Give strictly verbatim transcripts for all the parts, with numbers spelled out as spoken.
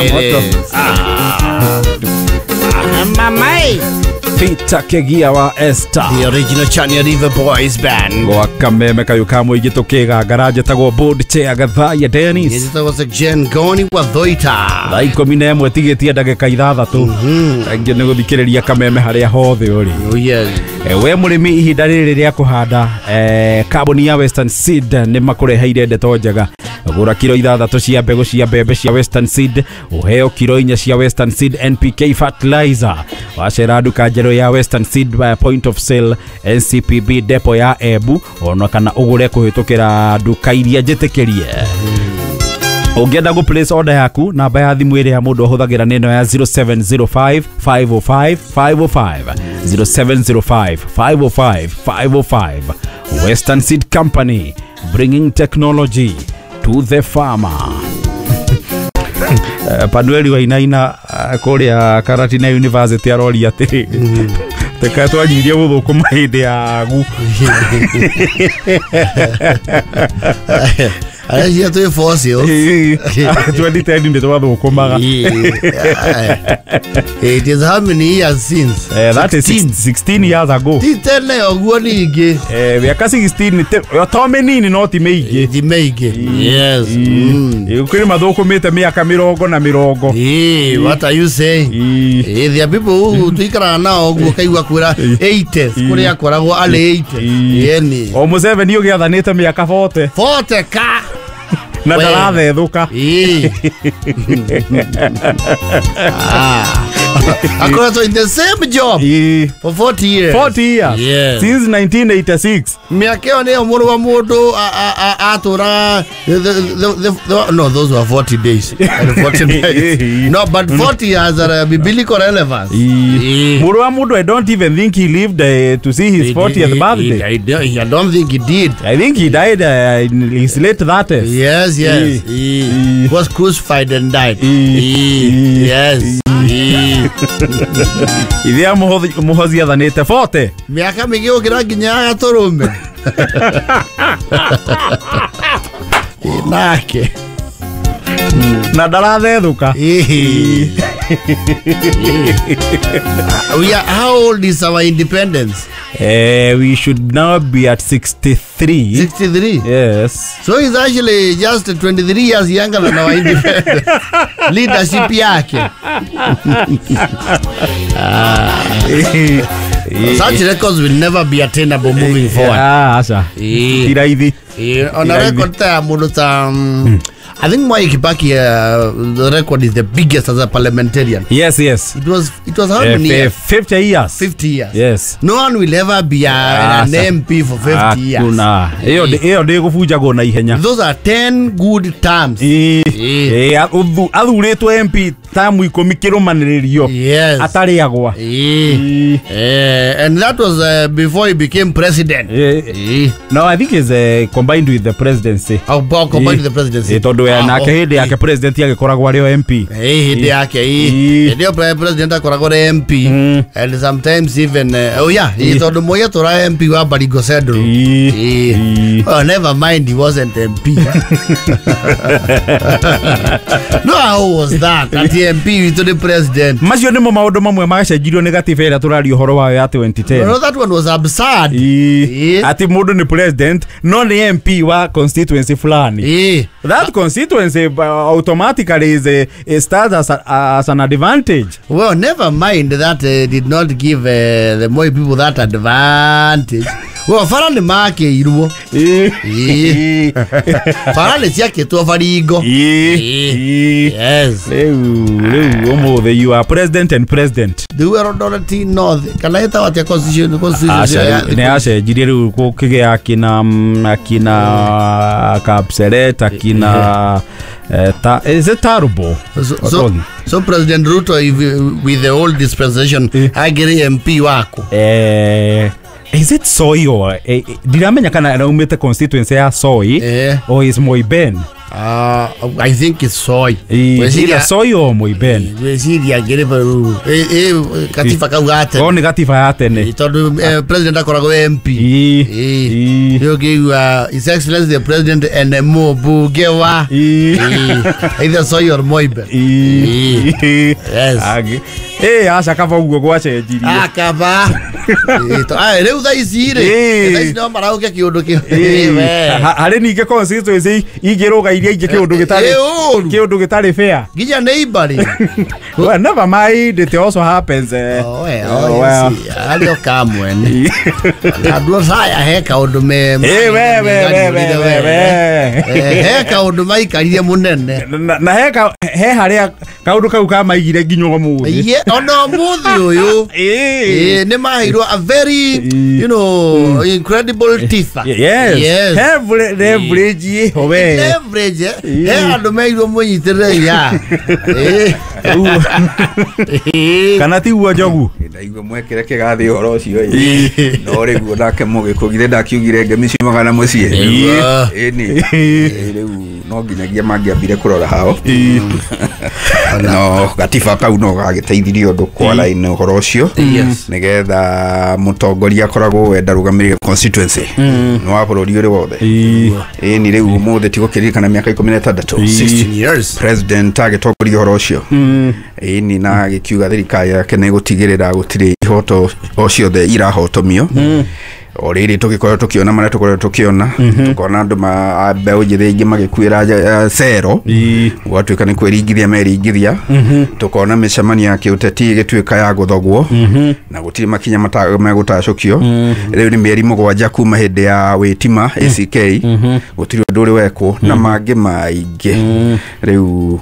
way it is. Ah. Mamai. Peter Kegia wa Esther. The original Chania River Boys Band. Gwa kameme kayu ka muingi tukiga garage tagwo board chair Gathaya Dennis. Njĩtagwo Jen Goni wa Thoita. Thaa ikũmi na ĩmwe tigĩtie ndagĩka ithathatũ. Thengiũ nĩ gũthikĩrĩria kameme harĩa hothe ũrĩ. Oh yes. We mũrĩmi ihinda rĩrĩ rĩa kũhanda eh, kambuni ya Western Seed nĩ makũreheire ndeto njega. Gũra kiro ithathatũ cia mbegũ cia mbembe cia Western Seed ũheo kiro inya cia Western Seed N P K fertilizer. Wacera nduka njerũ ya Western Seed by point of sale N C P B depot ya Embu ona kana ũgũre kũhĩtũkĩra nduka iria njĩtĩkĩrie. Ũngĩenda gũ place order yaku namba ya thimũ ĩrĩa mũndũ ahũthagĩra nĩ ĩno ya zero seven zero five five oh five five oh five zero seven zero five five oh five five oh five. Western Seed Company, bringing technology to the farmer. Panueli Wainaina kũrĩa Karatina University aroria atĩrĩ teka twanyirie gũthũkũma hĩndĩ ya gu Arĩa twĩ fossils twenty ten nĩ twathũkũmaga. It is how many years since? Uh, that is sixteen years ago. Ti tene ũguo ningĩ. Eh, mĩaka sixteen to mĩnini no ti mĩingĩ. Ti mĩingĩ. Yes. Kwĩ mathũkũmĩte mĩaka mĩrongo na mĩrongo. Eh, what are you saying? Eh, there are people who tuikaraga nao ũguo kaigua kwĩra eighties kũrĩa akoragwo arĩ eighty. Yeni. O Museveni ũgĩathanĩte mĩaka forty. forty ka. Na ndarathethũka. Ah. Akoretwo in the same job for forty years. forty years. Yes. Since nineteen eighty-six. Mĩaka ĩyo nĩyo mũrũ wa mũndũ atũraga. No, those were forty days and forty nights. No, but forty years are biblical relevance. Mũrũ wa mũndũ, I don't even think he lived uh, to see his fortieth birthday. I, I, I don't think he did. I think he died uh, in his late thirties. Yes, yes. He, he was crucified and died. He, yes. Ithia Muhozi athanĩte forty. Mĩaka mĩingĩ gũkĩra nginya ya gatũrũme. Nake na ndarathethũka. We are, how old is our independence? Eh, we should now be at sixty-three. sixty-three? Yes. So he's actually just twenty-three years younger than our independence. Leadership yake. Ah. Such records will never be attainable moving forward. Ah, asa. Iraithi. On a record ta mundu ta I think Mwai Kibaki, uh, the record is the biggest as a parliamentarian. Yes, yes. It was it was how uh, many years? fifty years. fifty years. Yes. No one will ever be a, ah, an M P for fifty years. Hakuna. Iyo iyo ndĩgũbunjagwo na ihenya. Those are ten good terms. Eh. Eh, athuritwo M P tamu ikũmi kĩrũmanĩrĩrio. Yes. Atarĩagwa. Eh. Eh, and that was uh, before he became president. Eh. Eh. No, I think it's uh, combined with the presidency. Oh, combined with the presidency. Eh, tondu ah, nake hĩndĩ yake president agĩkoragwo arĩ o M P. Eh, hĩndĩ yake hĩndĩ ĩyo president akoragwo arĩ M P and sometimes even uh, oh yeah, tondu Moi atũraga M P wa Baringo Central. Eh. Oh, never mind, he wasn't M P. No, how was that? At the M P to the president. Macio nĩmo maũndũ mamwe macenjirio nĩ gatiba ĩrĩa tũraria ũhoro wayo ya twenty ten. No, that one was absurd. Ati mũndũ nĩ president no nĩ M P wa constituency fulani. Eh. That constituency uh, automatically is a, a starts as, a, as an advantage. Well, never mind that uh, did not give uh, the Moi people that advantage. Well, bara nĩ makĩirwo. Bara nĩ ciakĩtwo baringo. Yes. Rĩu rĩu ũmũthĩ you are president and president. Rĩu Eldoret North kana ĩtagwo atĩa constitution constitution nĩ yacenjirie rĩu gũkĩgĩa akina akina Kapseret akina ta is it terrible? So, so, so President Ruto if, with the old dispensation agiri M P wako eh Is it Soy or eh, ndiramenya kana araumĩte constituency ya Soy Eh. or is Moiben? Uh, I think it's Soy. Either Soy or Moiben. Gwĩciria ngĩrĩ katiba kau ga tene. O nĩ gatiba ya tene. Tondũ eh, president akoragwo M P. Ĩĩ. Ĩĩ. Nĩ ũngĩigua His Excellency the President and mũmbunge wa Ĩĩ. Ĩĩ. Either Soy or Moiben. Ĩĩ. Yes. Agĩ. Ĩĩ aca kaba ũguo gwacenjirie. Akaba. Ĩĩ, to- ah, rĩu thaa ici rĩ, Ĩĩ. thaa ici no marauke kĩũndũ kĩu. Ĩĩ. We. Ha- harĩ ningĩ constituency ingĩrũga iria ingĩ kĩũndũ gĩtarĩ Ĩĩ, ũru. kĩũndũ gĩtarĩ fair. Nginya neighbor rĩ. Well, never mind, it also happens. Eh. Oh, eh, Oh, oh, well. yes. Arĩ o kamwene. Andũ aya he kaũndũ me Eh, we, we, we, we, we, we. Eh, he kaũndũ maikarire mũnene. Na, na he ka, he harĩa kaũndũ kau kamaigire nginya ũmũthĩ. Ye, ona ũmũthĩ ũyũ. Ĩĩ. Eh, nĩ maheirwo a very, you know, incredible tifa. Yes. Yes. He leverage ĩho we. Leverage, eh. He andũ meirwo mũnyitĩrĩre ya. Eh. Eh. Kana tiguo Njogu? Ndaigua mwekire kĩgathĩ ũhoro ũcio ĩ. No rĩu nake mũgĩkũyũ githĩ ndakiugire ngemi ciumaga na mũciĩ. Ĩĩ. Ĩni. Ĩ, rĩu no nginyagia mangĩambire kũrora hao. No gatiba kau no gagĩteithirie ũndũ kwara-inĩ ũhoro ũcio. Nĩgetha mũtongoria akoragwo we ndarũgamĩrĩire constituency. Nĩ wa bũrũri ũrĩ wothe. Ĩni rĩu ũmũthĩ tigũkĩririkana mĩaka ikũmi na ĩtandatũ. sixteen years. President agĩtongoria ũhoro ũcio. Ĩni na agĩkiuga thirikari yake nĩ gũtigĩrĩra gũtirĩ ihoto o ciothe irahotomio. O rĩrĩ tũgĩkorwo tũkĩona marĩa tũkoretwo tũkĩona, tũkona andũ ma mbeũ njĩthĩ aingĩ magĩkuĩra nja- cero, gwatuĩka nĩ kwĩringithia meringithia, tũkona mĩcemanio ya kĩũteti ĩgĩtuĩka ya gũthogwo na gũtirĩ makinya mata- megũtacũkio. Rĩu nĩ mĩeri mũgwanja kuma hĩndĩ ya wĩtima A C K, gũtirĩ ũndũ ũrĩ wekwo na mangĩ maingĩ. Rĩu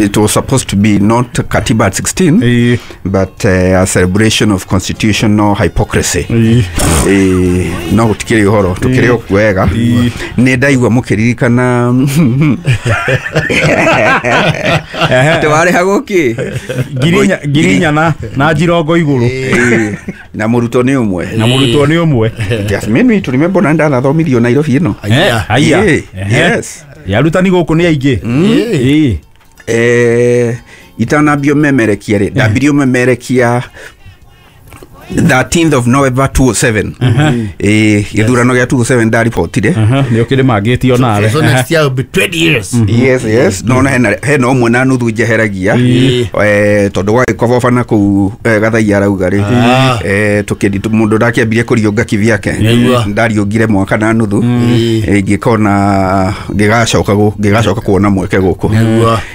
it was supposed to be not Katiba at sixteen, Ĩĩ. but uh, a celebration of constitutional hypocrisy. Ĩĩ. Eh, no gũtikĩrĩ ũhoro tũkĩrĩ o wega. Nĩ ndaigua mũkĩririkana atĩ warĩhagwo kĩ? Ngiri inya- ngiri inya na na njirongo igũrũ. Ĩĩ, na mũrutwo nĩ ũmwe. Na mũrutwo nĩ ũmwe. Just made me to remember na ndanathomithirio Nairobi ĩno. Eh, haiya. Ĩĩ, Ehe. yes. Arutani gũkũ nĩ aingĩ. Ĩĩ. Eh, itanambio memerekia rĩ, ndambirio memerekia thirteenth of November two oh seven. Eh, gĩthurano gĩa two oh seven ndaribotire. Nĩ ũkĩrĩ mangĩtio nawe. So next year will be twenty years. Yes, yes. No na hena hena ũmwe na nuthu njeheragia. Eh, tondũ gwagĩkoboba na kũu Gathaiya arauga rĩ. Eh, tũkĩndi mũndũ ndakĩambirie kũriũnga kivyake. Ndariũngire mwaka na nuthu. Eh, ngĩkona ngĩgacoka ngĩgacoka kuona mweke gũkũ.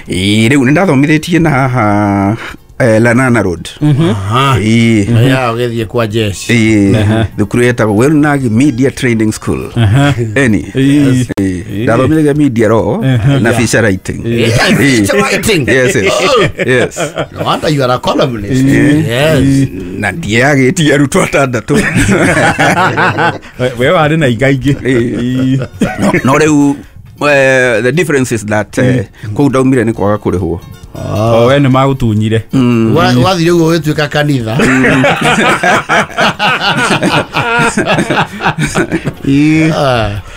Eh, rĩu nĩndathomithĩtie na haha eh, Lanana Road. Aha. Ĩĩ. Ya ũgĩthiĩ kwa jeshi. Ĩĩ. Thukuru ĩtagwo Welnag Media Training School. Eni. Ĩĩ. Ndathomithĩtie media law na feature writing. Feature writing. Yes, yes. Yes. No wonder you are a columnist. Yes. Na ndiagĩtie arutwo atandatũ. We warĩ na ingaingĩ. No, no rĩu the difference is that kũu ndaumire nĩ kwaga kũrĩhwo. O we nĩ magũtunyire. Wathire ũguo ũgĩtuĩka kanitha.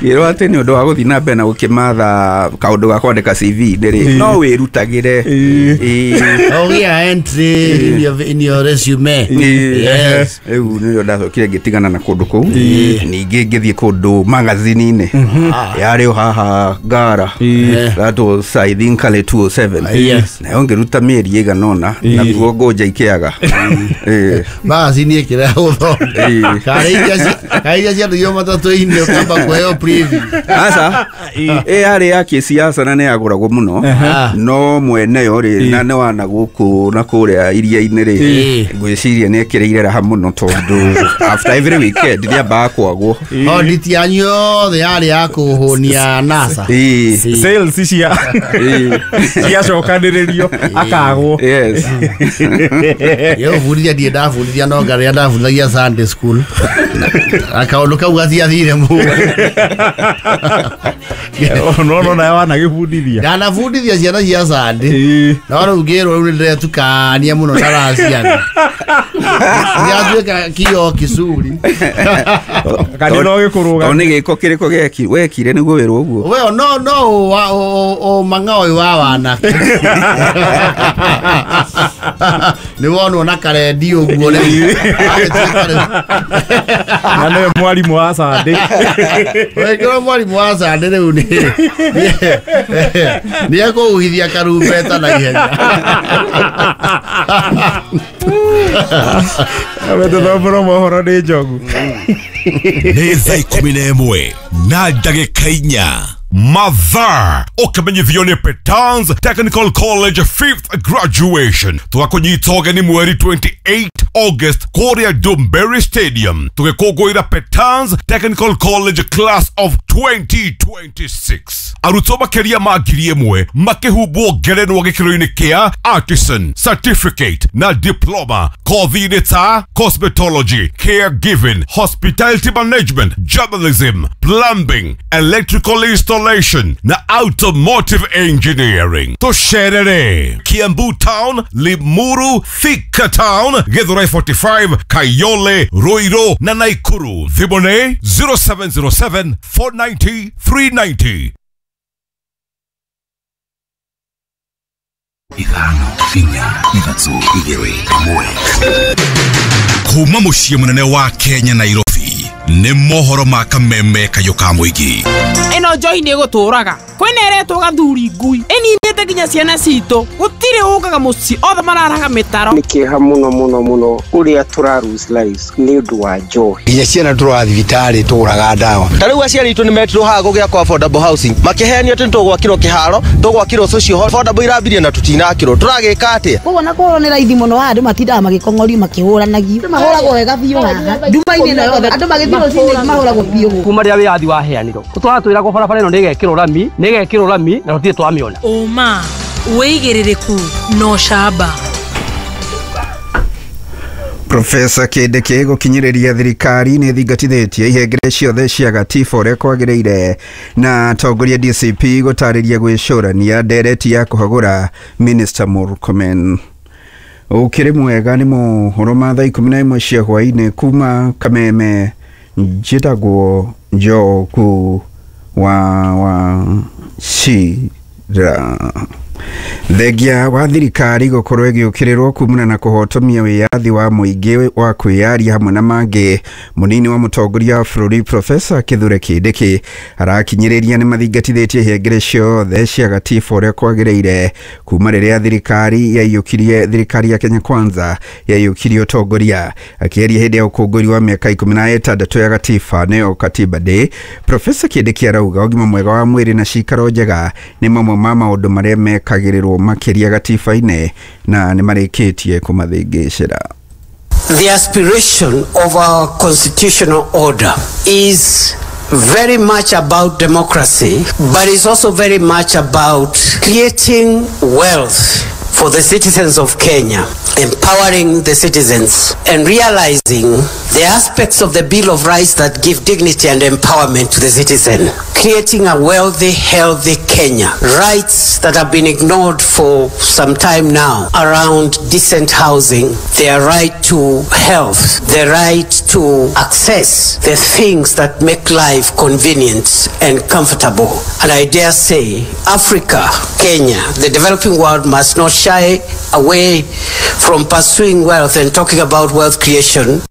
Ngĩrwo atĩ nĩ ũndũ wa gũthiĩ na mbere na gũkĩmatha kaũndũ ga kwandĩka C V rĩ, no wĩrutagĩre. Ũgĩa entry in your, in your resume. Yes. Rĩu nĩrĩo ndacokire ngĩtigana na kũndũ kũu. Ningĩ ngĩthiĩ kũndũ magazine-inĩ yarĩ o haha Ngara. That was I think early two oh seven. Yes. Nayo ngĩruta mĩeri ĩigana ũna naguo ngũnja ikĩaga. Magazine ĩkĩrega gũthoma. Karĩ iria ciandũirwo matatũ-inĩ ũkamba kũheo preview. Aca ĩ yarĩ ya kĩsiasa na nĩ yagũragwo mũno, no mwene yo rĩ na nĩ wana gũkũ na kũrĩa iria-inĩ rĩ, ngwĩciria nĩ ekĩrĩire raha mũno tondũ after every weekend nĩambaga kwagwo. Audit yanyu yothe yarĩ ya kũhũnia NASA. Sales cia ciacokanĩrĩrio akagwo. Yes. Yo bundithia ndirĩ ndabundithia no ngarĩa ndabundithagia Sunday school. Na kaũndũ kau gatiathire mũno. No no nawe wanagĩbundithia. Ndanabundithia ciana cia Sunday. No rĩu ngĩrwo rĩu nĩndĩretukania mũno na raciana. Nĩatuĩka kio kicuri. Kana no gĩkũrũga. O nĩ gĩko kĩrĩkũ gĩeki wekire nĩguo wĩrwo ũguo. Well, no no wa o mang'ao wa wanake. Nĩ wonwo na karendi ũguo rĩu. Na nĩwe mwarimũ wa Sunday. Wekĩrwo mwarimũ wa Sunday rĩu nĩ nĩ ekũhuhithia karumbeta na ihenya. Wetũthomborwo mohoro nĩ Njogu. Nĩ thaa ikũmi na ĩmwe na ndagĩka inya. Mathaa ũkĩmenyithio nĩ Petans Technical College fifth graduation. Tũgakũnyita ũgeni mweri twenty-eighth August kũrĩa Dumberry Stadium tũgĩkũngũĩra Petans Technical College class of twenty twenty-six. Arutwo makĩria ma ngiri ĩmwe makĩhumbwo ngerenwa gĩkĩro-inĩ kĩa artisan, certificate na diploma kothi-inĩ ta cosmetology, caregiving, hospitality management, journalism, plumbing, electrical installation na automotive engineering. Tũcerere Kiambu Town, Limuru, Thika Town, Githurai forty-five, Kayole, Ruiru na Nakuru. Thimũ nĩ zero seven zero seven four nine zero three nine zero. Ithano inya ithatũ igĩrĩ ĩmwe. Kuma mũciĩ mũnene wa Kenya Nairobi nĩ mohoro ma kameme kayũ ka mũingĩ. Ĩno njohi nĩ ĩgũtũraga. Kwĩna ĩretwo gathuri ngui. Ĩninĩte nginya ciana citũ. Gũtirĩ ũkaga mũciĩ othe mararaga mĩtaro. Nĩ kĩeha mũno mũno mũno ũrĩa tũra lose lives nĩ ũndũ wa njohi. Nginya ciana tũraga thibitarĩ tũgũraga ndawa. Ta rĩu aciari aitũ nĩ metirwo haha gũgĩakwo affordable housing. Makĩheanio atĩ nĩtũgwakĩrwo kĩharo, tũgwakĩrwo social hall. Affordable irambirie na tũtinakĩrwo. Tũragĩka atĩa? Koguo na kũhũrwo nĩ raithi mũno haha andũ matindaga magĩkong'orio makĩhũranagio. Andũ mahũragwo wega biũ haha. Nduma-inĩ ĩno yothe andũ magĩthiĩ rũcinĩ mahũragwo biũ. Kuma rĩrĩa wĩyathi waheanirwo tũtũraga twĩragwo barabara ĩno nĩĩgekĩrwo rami, nĩĩgekĩrwo rami na tũtirĩ twamĩona. Ũma, wĩigĩrĩrĩku na ũcamba. Profesa Kindiki gũkinyĩrĩria thirikari nĩ thingatithĩtie ihengere ciothe cia gatiba ũrĩa kwagĩrĩire na atongoria D C P gũtarĩria gwĩcũrania ndereti ya kũhagũra Minister Murkomen. Ũkĩrĩ mwega nĩ mohoro ma thaa ikũmi na ĩmwe cia hwaĩ-inĩ kuma Kameme. Njĩtagwo Njogu wa wa Cira. Thengia wa thirikari gũkorwo ĩgĩũkĩrĩrwo kumana na kũhotomia wĩyathi wa mũingĩ wa kwĩyaria hamwe na mangĩ. Mũnini wa mũtongoria wa bũrũri Profesa Kithure Kindiki arakinyĩrĩria nĩ mathingatithĩtie ihengere ciothe cia gatiba ũrĩa kwagĩrĩire kuma rĩrĩa thirikari yaiyũkirie thirikari ya Kenya Kwanza yaiyũkirie ũtongoria. Akĩaria hĩndĩ ya ũkũngũĩri wa mĩaka ikũmi na ĩtandatũ ya gatiba nĩyo Katiba Day, Profesa Kindiki arauga ũgima mwega wa mwĩrĩ na cikaro njega nĩ mamwe ma maũndũ marĩa mekagĩrĩrwo makĩria gatiba-inĩ na nĩ marĩkĩtie kũmathĩngĩcĩra. The aspiration of our constitutional order is very much about democracy, but it's also very much about creating wealth for the citizens of Kenya, empowering the citizens and realizing the aspects of the Bill of Rights that give dignity and empowerment to the citizen, creating a wealthy, healthy Kenya. Rights that have been ignored for some time now around decent housing, their right to health, the right to access the things that make life convenient and comfortable. And I dare say, Africa, Kenya, the developing world must not shy away from pursuing wealth and talking about wealth creation.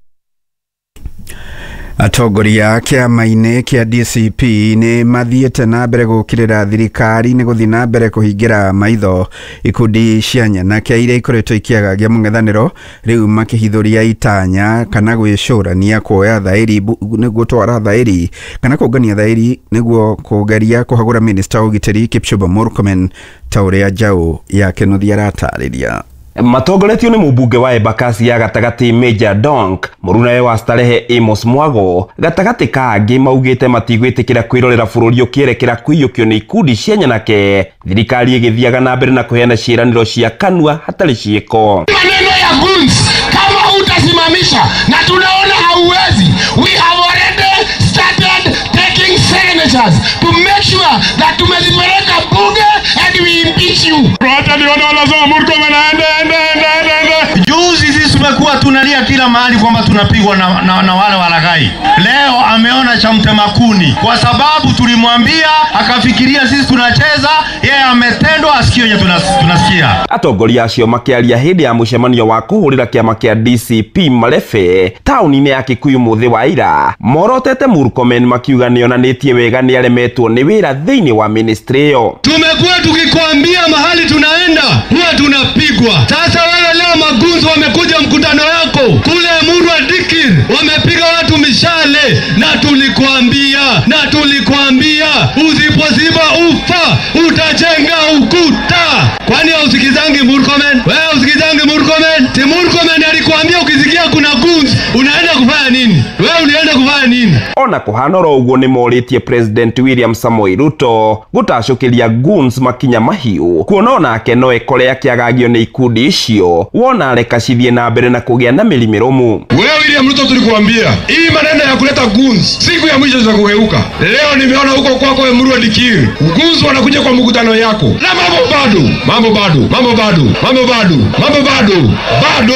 Atongoria kĩama-inĩ kĩa D C P nĩ mathiĩte na mbere gũkĩrĩra thirikari nĩ gũthiĩ na mbere kũhingĩra maitho ikundi cia nyanake iria ikoretwo ikĩagagia mũng'ethanĩro rĩu makĩhithũria itanya kana gwĩcũrania kuoya thaĩri nĩguo twara thaĩri kana kũngania thaĩri nĩguo kũgeria kũhagũra minista wa ũgitĩri Kipchumba Murkomen ta ũrĩa Njaũ ya Kĩnuthia aratarĩria. Matongoretio nĩ mũmbunge wa Embakasi ya gatagatĩ Major Donk, mũrunawe wa Starehe Amos Mwago, gatagatĩ ka angĩ maugĩte matigwĩtĩkĩra kwĩrorera bũrũri ũkĩerekera kũiyũkio nĩ ikundi cia nyanake, thirikari ĩgĩthiaga na mbere na kũheana ciĩranĩro cia kanua hatarĩ ciĩko. Maneno ya goons kama hutasimamisha na tunaona hauwezi, we have already started taking signatures to make sure that tumezipeleka bunge and we impeach you. Hata niona wanasema Murkomen aende aende aende aende. Juzi sisi tumekuwa tunalia Ilifika mahali kwamba tunapigwa na, na, na wale walaghai. Leo ameona cha mtema kuni, kwa sababu tulimwambia akafikiria sisi tunacheza, yeye ametendwa asikio yenye tunasikia. Atongoria acio makiaria hindi ya mucemanio wa kuhurira kiama kia D C P Marefe tauni-ini ya Kikuyu muthi wa ira morotete Murkomen makiuga nionanitie wega ni aremetwo ni wira thiini wa ministry iyo. Tumekuwa tukikwambia mahali tunaenda huwa tunapigwa. Sasa wewe leo magunzo wamekuja mkutano yako kule Murwa Dikir, wamepiga watu mishale, na tulikwambia na tulikwambia usipoziba ufa utajenga ukuta. Kwani hausikizangi Murkomen? Wewe usikizangi Murkomen? Si Murkomen alikwambia ukisikia kuna guns unaenda kufanya nini? Wewe ulienda kufanya nini? Ona kuhanoro uguo ni moritie President William Samoei Ruto gutacukiria guns makinya mahiu kuona onake no ekore akiagagio ni ikundi icio wona reka cithie na mbere na kugia na mĩri mĩrũmu. Wewe William Ruto tulikuambia hii maneno ya kuleta guns siku ya mwisho zitakugeuka. Leo nimeona huko kwako wewe Murwa Dikir, guns wanakuja kwa mkutano yako na mambo bado, mambo bado, mambo bado, mambo bado, mambo bado, bado.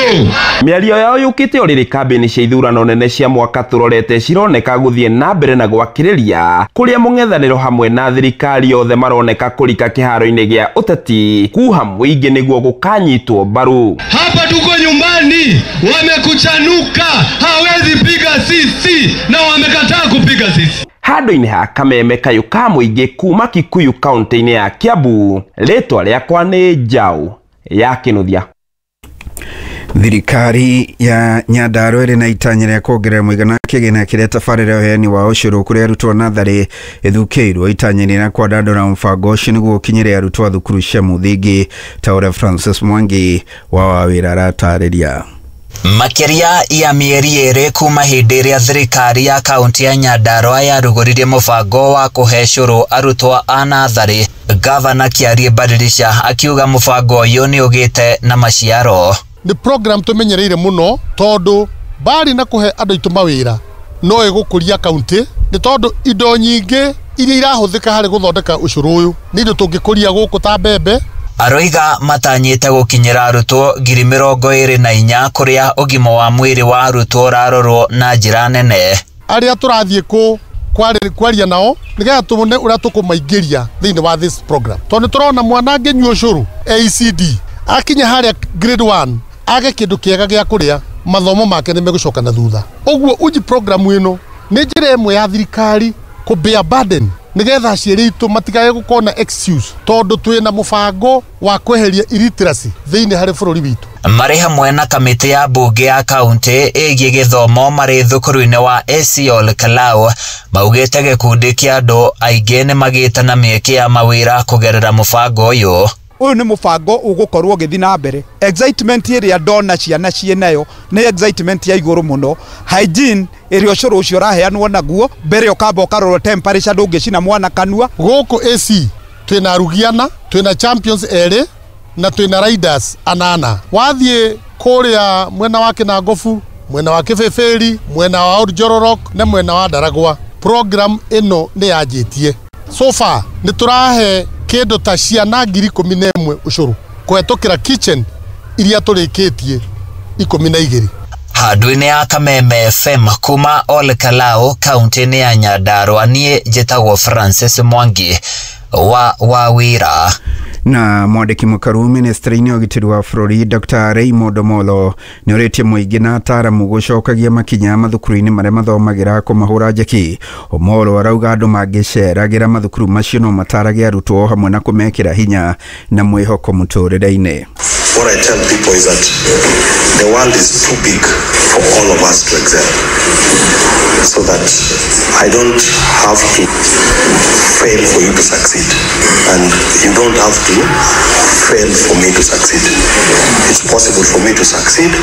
Mĩario yao yukite orĩrĩ kambĩini cia ithurano nene cia mwaka turorete cironeka guthie na mbere na gwakĩrĩria kuria mũng'ethanĩro hamwe na thirikari yothe maroneka kũrika kĩharo-inĩ gĩa ũteti kuha mũingĩ nĩguo gũkanyitwo mbaru. Hapa tuko nyumbani, wamekuchanuka, hawezi piga sisi na wamekataa kupiga sisi. Handũ-inĩ ha Kameme kayũ ka mũingĩ kuma Kikuyu kaunti-inĩ ya Kiambu, rĩtwa rĩakwa nĩ Njaũ ya Kĩnuthia. Thirikari ya Nyandarua ĩrĩ na itanya rĩa kuongerera mũigana wa kĩgĩna kĩrĩa tabarĩra ũheani wa ũcũrũ kũrĩ arutwo natharĩ ĩthukĩirwo itanya-inĩ rĩa kwandandũra mũbango ũcio nĩguo ũkinyĩre arutwo a thukuru cia mũthingi ta ũrĩa Francis Mwangi wa Wawĩra aratarĩria. Makĩria ya mĩeri ĩrĩ kuma hĩndĩ ĩrĩa thirikari ya kaunti ya Nyandarua yarugũririe mũbango wa kũhe cũrũ arutwo a natharĩ, Gavana Kiarie Badilisha akiuga mũbango ũyũ nĩ ũgĩte na maciaro. Nĩ program tumenyereire muno tondu bari na kuhe andu aitu mawira no ĩgũkũria kaunti nĩ tondu indo nyingĩ iria irahũthĩka harĩ gũthondeka ũcũrũ ũyũ nĩ indo tũngĩkũria gũkũ ta mbembe. Aroiga matanyĩte gũkinyĩra arutwo ngiri mĩrongo ĩrĩ na inya kũrĩa ũgima wa mwĩrĩ wa arutwo ũrarorwo na njĩra nene. Arĩa tũrathiĩ kũ kwaria nao nĩgetha tuone ũrĩa tũkũmaingĩria thĩinĩ wa this program tondũ tũrona mwana angĩnyua ũcũrũ A C D akinya harĩa grade one age kĩndũ kĩega gĩa kũrĩa mathomo make nĩ megũcoka na thutha. Ũguo uji program ĩno nĩ njĩra ĩmwe ya thirikari kũ bear burden nĩgetha aciari aitũ matikae gũkorwo na excuse tondũ twĩna mũbango wa kweheria illiteracy thĩinĩ harĩ bũrũri witũ. Marĩ hamwe na kamĩtĩ ya mbunge ya kaunti ĩgiĩ gĩthomo marĩ thukuru-inĩ wa A C Ol Kalou maugĩte gĩkundi kĩa andũ aingĩ nĩ magĩte na mĩeke ya mawĩra kũgerera mũbango ũyũ. Ũyũ nĩ mũbango ũgũkorwo ũgĩthiĩ na mbere. Excitement ĩrĩa ndona ciana ciĩ nayo nĩ excitement ya igũrũ mũno. Hygiene ĩrĩa ũcũrũ ũcio ũraheanwo naguo mbere ũkamba ũkarora temperature ndũngĩcina mwana kanua. Gũkũ A C twĩna arugiana, twĩna champions erĩ na twĩna riders anana. Wathiĩ kũrĩa mwena wa Kĩnangobu, mwena wa Kĩbĩbĩri, mwena wa Old Njororok na mwena wa Ndaragwa, program ĩno nĩ yanjĩtie. So far nĩ tũrahe kĩndũ ta ciana ngiri ikũmi na ĩmwe ũcũrũ kũhetũkĩra kitchen iria tũrĩkĩtie ikũmi na igĩrĩ. Handũ-inĩ ya Kameme F M kuma Ol Kalou kaunti-inĩ ya Nyandarua, niĩ njĩtagwo Francis Mwangi wa Wawĩra. Na mwandĩki mũkaru ministry-inĩ ũgitĩri wa bũrũri Doctor Raymond Omolo nĩ ũrĩtie mũingĩ na ataaramu gũcokagia makinya mathukuru-inĩ marĩa mathomagĩra kũmahũra njeki. Omolo arauga andũ mangĩceragĩra mathukuru macio no matarage arutwo hamwe na kũmekĩra hinya na mwĩhoko mũtũrĩre-inĩ. What I tell people is that the world is too big for all of us to excel, so that I don't have to fail for you to succeed, and you don't have to fail for me to succeed. It's possible for me to succeed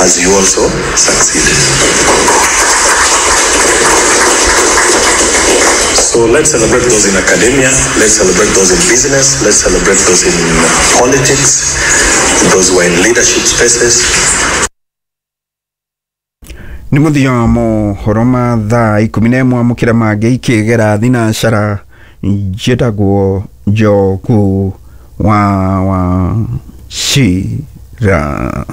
as you also succeed. So let's celebrate those in academia, let's celebrate those in business, let's celebrate those in politics, those who are in leadership spaces. Nĩ mũthia wa mohoro ma thaa ikũmi na ĩmwe amũkĩra mangĩ ikĩgera thinacara njĩtagwo Njoku wa wa Cira.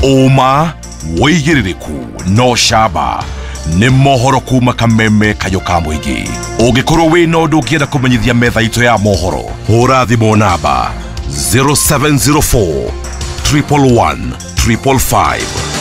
Ũma, wĩigĩrĩrĩku no camba nĩ mohoro kuma kameme kayũ ka mũingĩ. Ũngĩkorwo wĩna ũndũ ũngĩenda kũmenyithia metha itũ ya mohoro, hũra thimũ namba zero seven zero four triple one triple five.